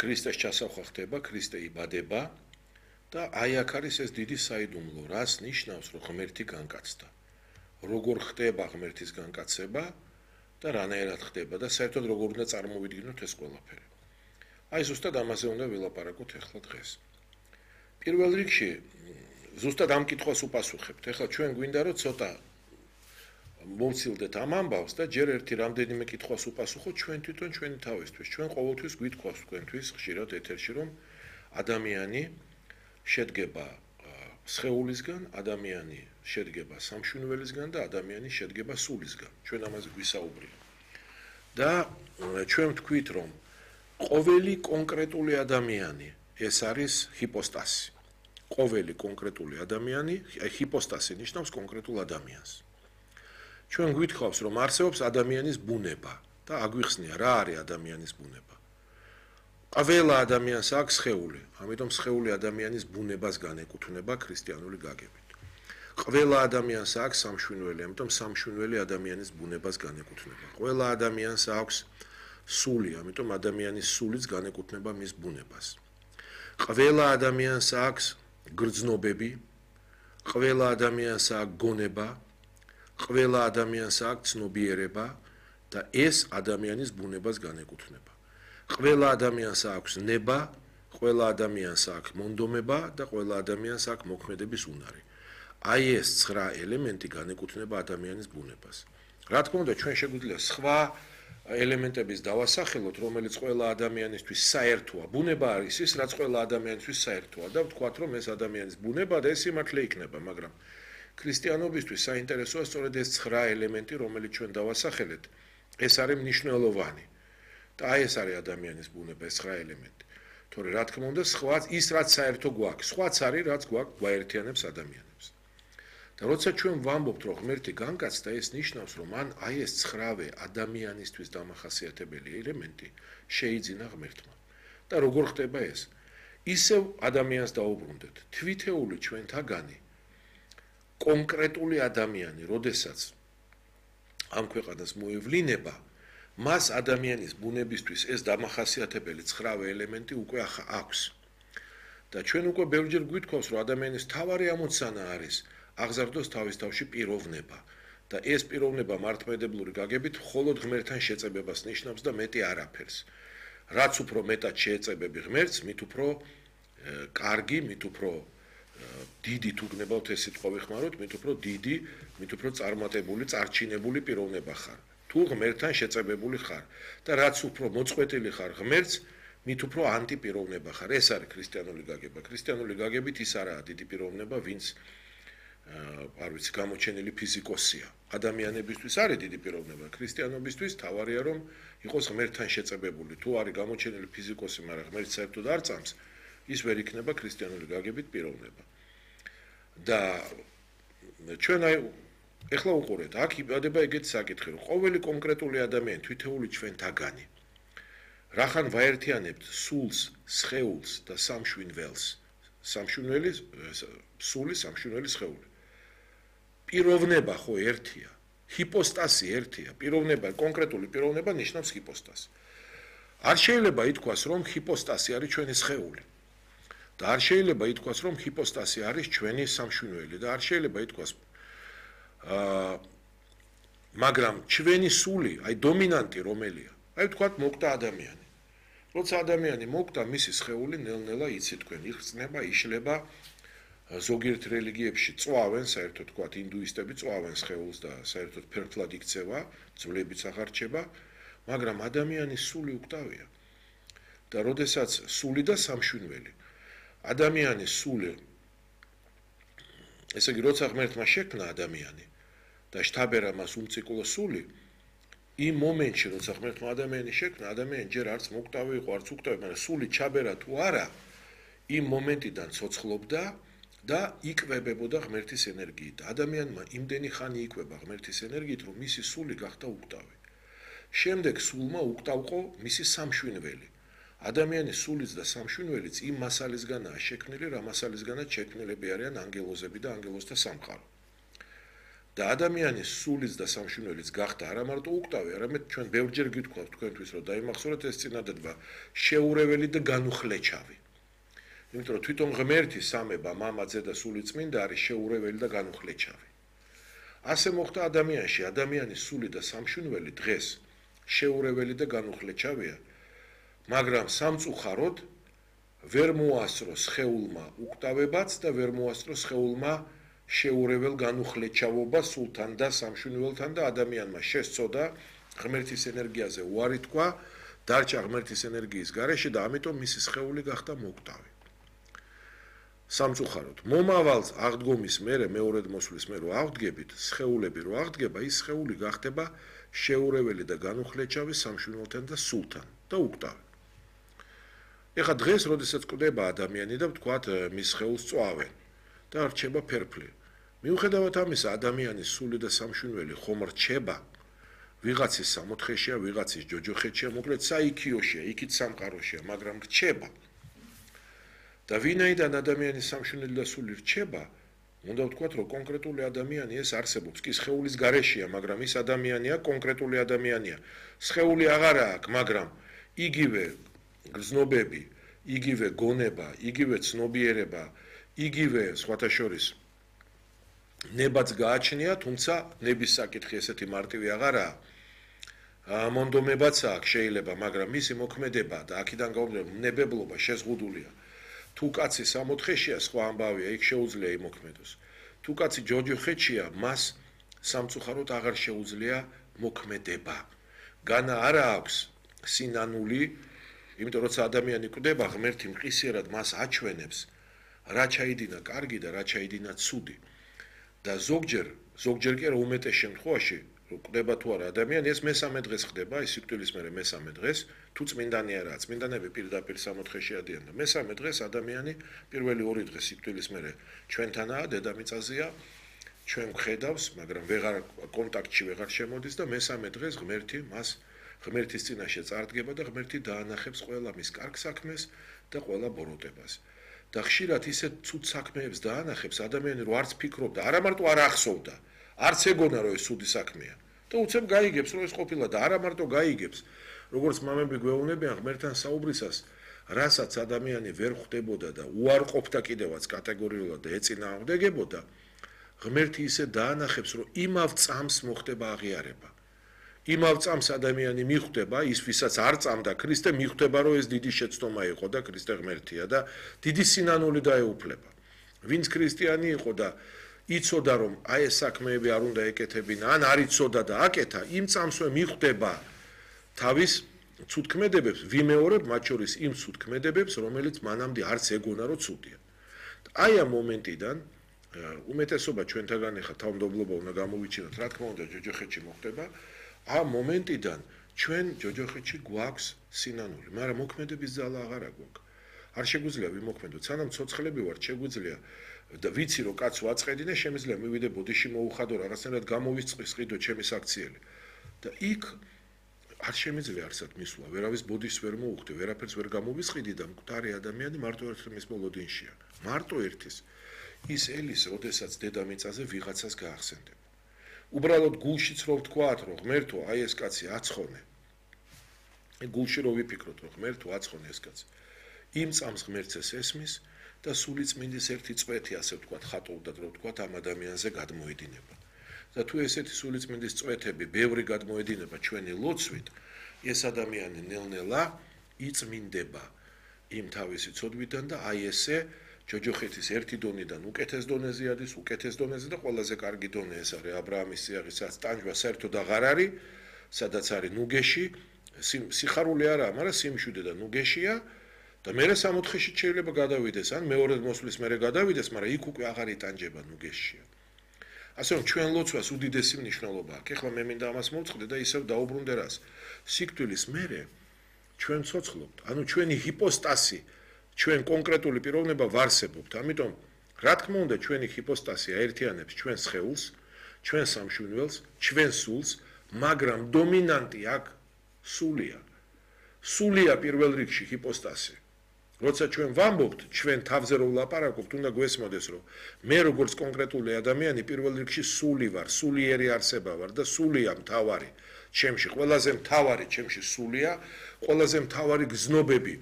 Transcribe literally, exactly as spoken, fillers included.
ქრისტეს ჩასახვა ხდება, ქრისტე იბადება და აი აქ არის ეს დიდი საიდუმლო, რას ნიშნავს, რომ ღმერთი განკაცდა. როგორ ხდება ღმერთის განკაცება და რანაირად ხდება და საერთოდ როგორ უნდა წარმოვიდგინოთ ეს ყველაფერი. აი ზუსტად ამაზე უნდა ვილაპარაკოთ ახლა დღეს. პირველ რიგში ზუსტად ამ კითხვას უპასუხებთ. ახლა ჩვენ გვინდა რომ ცოტა მომცილდეთ ამ ამბავს და ჯერ ერთი რამდენიმე კითხვას უპასუხოთ ჩვენ თვითონ ჩვენი თავისთვის. ჩვენ ყოველთვის გვითქვას თქვენთვის ხშირად ეთერში რომ ადამიანი შედგება სხეულისგან, ადამიანი შედგება სამშვენველისგან და ადამიანი შედგება სულისგან. ჩვენ ამაზე გვისაუბრია. და ჩვენ ვთქვით რომ ყოველი კონკრეტული ადამიანი ეს არის ჰიპოსტასი. ყოველი კონკრეტული ადამიანი, ჰიპოსტასი ნიშნავს კონკრეტულ ადამიანს. ჩვენ გვითხოვს რომ არსებობს ადამიანის ბუნება და აგვიხსნია რა არის ადამიანის ბუნება. ყველა ადამიანს აქვს სხეული, ამიტომ სხეული ადამიანის ბუნებას განეკუთვნება ქრისტიანული გაგებით. ყველა ადამიანს აქვს სამშვენველი, ამიტომ სამშვენველი ადამიანის ბუნებას განეკუთვნება. ყველა ადამიანს აქვს სული, ამიტომ ადამიანის სულიც განეკუთვნება მის ბუნებას. ყველა ადამიანს აქვს გრძნობები, ყველა ადამიანს აქვს გონება, ყველა ადამიანს აქვს ცნობიერება და ეს ადამიანის ბუნებას განეკუთვნება. ყველა ადამიანს აქვს ნება, ყველა ადამიანს აქვს მონდომება და ყველა ადამიანს აქვს მოქმედების უნარი. აი ეს ცხრა ელემენტი განეკუთვნება ადამიანის ბუნებას. რა თქმა უნდა, ჩვენ შეგვიძლია სხვა ელემენტების დავასახელოთ, რომელიც ყველა ადამიანისთვის საერთოა. ბუნება არის ის, რაც ყველა ადამიანისთვის საერთოა და ვთქვათ, რომ ეს ადამიანის ბუნება და ეს სიმართლე იქნება, მაგრამ ქრისტიანობისთვის საინტერესოა სწორედ ეს ცხრა ელემენტი, რომელიც ჩვენ დავასახელეთ, ეს არის მნიშვნელოვანი. და აი ეს არის ადამიანის ბუნება, ეს ცხრა ელემენტი. თორე რა თქმა უნდა, სხვა ის რაც საერთო გვაქვს, სხვაც არის, რაც გვაქვს გვაერთიანებს ადამიანებს. და როცა ჩვენ ვამბობთ, რომ ღმერთი განკაცდა, ეს ნიშნავს, რომ ან აი ეს ცხრავე ადამიანისთვის დამახასიათებელი ელემენტი შეიძინა ღმერთმა. და როგორ ხდება ეს? ისევ ადამიანს დაუბრუნდეთ. თვითეული ჩვენთაგანი კონკრეტული ადამიანი, როდესაც ამ ქვეყანას მოევლინება, მას ადამიანის ბუნებისთვის ეს დამახასიათებელი ცხრავე ელემენტი უკვე აქვს. და ჩვენ უკვე ბევრჯერ გვითხოვს, რომ ადამიანის თავარი ამოცანა არის აღზარდოს თავის თავში პიროვნება და ეს პიროვნება მართლმადიდებლური გაგებით მხოლოდ ღმერთთან შეწებებას ნიშნავს და მეტი არაფერს. რაც უფრო მეტად შეეწებები ღმერთს, მით უფრო კარგი, მით უფრო დიდი თუ გნებავთ ეს სიტყვა ვიხმაროთ, მით უფრო დიდი, მით უფრო წარმატებული, წარჩინებული პიროვნება ხარ. თუ ღმერთთან შეწებებული ხარ და რაც უფრო მოწყვეტილი ხარ ღმერთს, მით უფრო ანტიპიროვნება ხარ. ეს არის ქრისტიანული გაგება. ქრისტიანული გაგებით ის არაა დიდი პიროვნება, ვინც არ ვიცი, გამოჩენილი ფიზიკოსია. ადამიანებისთვის არის დიდი პიროვნება, ქრისტიანობისთვის თავარია რომ იყოს ღმერთთან შეწებებული. თუ არის გამოჩენილი ფიზიკოსი, მაგრამ ღმერთს საერთოდ არ წამს, ის ვერ იქნება ქრისტიანული გაგებით პიროვნება. და ჩვენ აი ეხლა უყურეთ, აქ იბადება ეგეთი საკითხი, რომ ყოველი კონკრეტული ადამიანი თვითეული ჩვენთაგანი რახან ვაერთიანებთ სულს, სხეულს და სამშვენველს. სამშვენველი, სული, სამშვენველი, სხეული. პიროვნება ხო ერთია, ჰიპოსტასი ერთია, პიროვნება, კონკრეტული პიროვნება ნიშნავს ჰიპოსტასს. არ შეიძლება ითქვას, რომ ჰიპოსტასი არის ჩვენი სხეული. და არ შეიძლება ითქვას, რომ ჰიპოსტასი არის ჩვენი სამშვენველი და არ შეიძლება ითქვას აა მაგრამ ჩვენი სული, აი დომინანტი რომელია? აი ვთქვათ, მოკვდა ადამიანი. როცა ადამიანი მოკვდა, მისი სხეული ნელ-ნელა იცით თქვენ, იხსნება, იშლება. ზოგიერთ რელიგიებში წვავენ, საერთოდ ვთქვათ, ინდუისტები წვავენ სხეულს და საერთოდ ფერფლად იქცევა, ძვლებიც აღარ რჩება, მაგრამ ადამიანის სული უკტავია. და როდესაც სული და სამშვენველი ადამიანის სული, ესე იგი, როცა ღმერთმა შექმნა ადამიანი და შთაბერა მას უმციკლო სული, იმ მომენტში, როცა ღმერთმა ადამიანი შექმნა, ადამიანი ჯერ არც მოკვდავი იყო, არც უკტავი, მაგრამ სული ჩაბერა თუ არა, იმ მომენტიდან ცოცხლობდა და იკვებებოდა ღმერთის ენერგიით. ადამიანმა იმდენი ხანი იკვება ღმერთის ენერგიით, რომ მისი სული გახდა უკტავი. შემდეგ სულმა უკტავყო მისი სამშვენველი. ადამიანის სულიც და სამშვენველიც იმ მასალისგანაა შექმნილი, რა მასალისგანაც შექმნილები არიან ანგელოზები და ანგელოზთა სამყარო. და ადამიანის სულის და სამშვენიველის გახდა არა მარტო უკტავი, არამედ ჩვენ ბევრჯერ გითხოვთ თქვენთვის, რომ დაიმახსოვროთ ეს წინადადება შეურეველი და განუხლეჩავი. იმიტომ რომ თვითონ ღმერთი სამება, მამაძე და სული წმინდა არის შეურეველი და განუხლეჩავი. ასე მოხდა ადამიანში, ადამიანის სული და სამშვენიველი დღეს შეურეველი და განუხლეჩავია, მაგრამ სამწუხაროდ ვერ მოასწრო სხეულმა უკტავებაც და ვერ მოასწრო სხეულმა შეურეველ განუხლეჩავობას სულთან და სამშვენიველთან და ადამიანმა შესწოდა ღმერთის ენერგიაზე უარი თქვა, დარჩა ღმერთის ენერგიის გარეშე და ამიტომ მისი სხეული გახდა მოუკტავი. სამწუხაროდ, მომავალ აღდგომის მერე მეორედ მოსვლის მერე რო აღდგებით, სხეულები რო აღდგება, ის სხეული გახდება შეურეველი და განუხლეჩავი სამშვენიველთან და სულთან და უკტავი. ეხლა დღეს, როდესაც კვდება ადამიანი და ვთქვათ, მის სხეულს წვავენ და რჩება ფერფლი. მიუხედავად ამისა, ადამიანის სული და სამშვენიველი ხომ რჩება, ვიღაცის სამოთხეშია, ვიღაცის ჯოჯოხეთშია, მოკლედ საიქიოშია, იქით სამყაროშია, მაგრამ რჩება. და ვინაიდან ადამიანის სამშვენიველი და სული რჩება, უნდა ვთქვათ, რომ კონკრეტული ადამიანი ეს არსებობს, კი სხეულის გარეშეა, მაგრამ ის ადამიანია, კონკრეტული ადამიანია. სხეული აღარა აქვს, მაგრამ იგივე გრძნობები, იგივე გონება, იგივე ცნობიერება, იგივე სხვათა შორის ნებაც გააჩნია, თუმცა ნების საკითხი ესეთი მარტივი აღარაა. მონდომებაც აქვს შეიძლება, მაგრამ მისი მოქმედება და აქედან გამომდინარე ნებებლობა შეზღუდულია. თუ კაცი სამოთხეშია, სხვა ამბავია, იქ შეუძლია იმოქმედოს. თუ კაცი ჯოჯოხეთშია, მას სამწუხაროდ აღარ შეუძლია მოქმედება. განა არა აქვს სინანული, იმიტომ როცა ადამიანი კვდება, ღმერთი მყისიერად მას აჩვენებს, რა ჩაიდინა კარგი და რა ჩაიდინა ცუდი. და ზოგჯერ, ზოგჯერ კი არა უმეტეს შემთხვევაში, რომ კვდება თუ არა ადამიანი, ეს მესამე დღეს ხდება, ის სიკვდილის მერე მესამე დღეს, თუ წმინდანი არაა, წმინდანები პირდაპირ სამოთხეში ადიან და მესამე დღეს ადამიანი პირველი ორი დღე სიკვდილის მერე ჩვენთანაა, დედამიწაზეა, ჩვენ ვხედავს, მაგრამ ვეღარ კონტაქტში ვეღარ შემოდის და მესამე დღეს ღმერთი მას ღმერთის წინაშე წარდგება და ღმერთი დაანახებს ყველა მის კარგ საქმეს და ყველა ბოროტებას. და ხშირად ისეთ ცუდ საქმეებს დაანახებს ადამიანი, რომ არც ფიქრობდა, არა მარტო არ ახსოვდა, არც ეგონა რომ ეს ცუდი საქმეა. და უცებ გაიგებს, რომ ეს ყოფილა და არა მარტო გაიგებს, როგორც მამები გვეუბნებიან ღმერთთან საუბრისას, რასაც ადამიანი ვერ ხვდებოდა და უარყოფდა კიდევაც კატეგორიულად და ეწინააღმდეგებოდა, ღმერთი ისე დაანახებს, რომ იმავ წამს მოხდება აღიარება. იმავ წამს ადამიანი მიხვდება, ის ვისაც არ წამდა ქრისტე, მიხვდება, რომ ეს დიდი შეცდომა იყო და ქრისტე ღმერთია და დიდი სინანული დაეუფლება. ვინც ქრისტიანი იყო და იცოდა, რომ აი ეს საქმეები არ უნდა ეკეთებინა, ან არ იცოდა და აკეთა, იმ წამსვე მიხვდება თავის ცუდქმედებებს, ვიმეორებ მათ შორის იმ ცუდქმედებებს, რომელიც მანამდე არც ეგონა, რომ ცუდია. აი ამ მომენტიდან უმეტესობა ჩვენთაგან ახლა თავმდაბლობა უნდა გამოვიჩინოთ, რა თქმა უნდა, ჯოჯოხეთში მოხდება. ამ მომენტიდან ჩვენ ჯოჯოხეთში გვაქვს სინანული, მაგრამ მოქმედების ძალა აღარ გვაქვს. არ შეგვიძლია ვიმოქმედოთ, სანამ ცოცხლები ვართ, შეგვიძლია და ვიცი რომ კაც ვაწყედი და შემიძლია მივიდე ბოდიში მოუხადო რაღაცნაირად გამოვისყიდო ჩემი საქციელი. და იქ არ შემიძლია არსად მისვლა, ვერავის ბოდიშს ვერ მოუხდი, ვერაფერს ვერ გამოვისყიდი და მკვდარი ადამიანი მარტო ერთის მოლოდინშია. მარტო ერთის. ის ელის, როდესაც დედამიწაზე ვიღაცას გაახსენდება. უბრალოდ გულშიც რო ვთქვათ, რომ ღმერთო, აი ეს კაცი აცხონე. გულში რო ვიფიქროთ, რომ ღმერთო აცხონე ეს კაცი. იმ წამს ღმერთს ეს ესმის და სული წმინდის ერთი წვეთი, ასე ვთქვათ, ხატოვდათ, რო ვთქვათ, ამ ადამიანზე გადმოედინება. და თუ ესეთი სული წმინდის წვეთები ბევრი გადმოედინება ჩვენი ლოცვით, ეს ადამიანი ნელ-ნელა იწმინდება იმ თავისი ცოდვიდან და აი ესე ჯოჯოხეთის ერთი დონიდან უკეთეს დონეზე ადის, უკეთეს დონეზე და ყველაზე კარგი დონე ეს არის ა ブラ ამის სიაღისაც ტანჯვა საერთოდ აღარ არის, სადაც არის ნუგეში, სიხარული არაა, მაგრამ სიმშვიდე და ნუგეშია და მერე სამოთხეში შეიძლება გადავიდეს, ან მეორედ მოსვლის მერე გადავიდეს, მაგრამ იქ უკვე აღარ იტანჯება ნუგეშია. ასე რომ ჩვენ ლოცვას უდიდესი მნიშვნელობა აქვს. ეხლა მე მინდა ამას მოვწყდე და ისევ დაუბრუნდე რას. სიკვდილის მერე ჩვენ ცოცხლობთ, ანუ ჩვენი ჰიპოსტასი ჩვენ კონკრეტული პიროვნება ვარსებობთ. ამიტომ რა თქმა უნდა ჩვენი ჰიპოსტასი აერთიანებს ჩვენ სხეულს, ჩვენ სამშვენიველს, ჩვენ სულს, მაგრამ დომინანტი აქ სულია. სულია პირველ რიგში ჰიპოსტასი. როცა ჩვენ ვამბობთ, ჩვენ თავზე რო ვლაპარაკობთ, უნდა გვესმოდეს, რომ მე როგორც კონკრეტული ადამიანი პირველ რიგში სული ვარ, სულიერი არსება ვარ და სულია მთავარი. ჩემში ყველაზე მთავარი ჩემში სულია, ყველაზე მთავარი გზნობები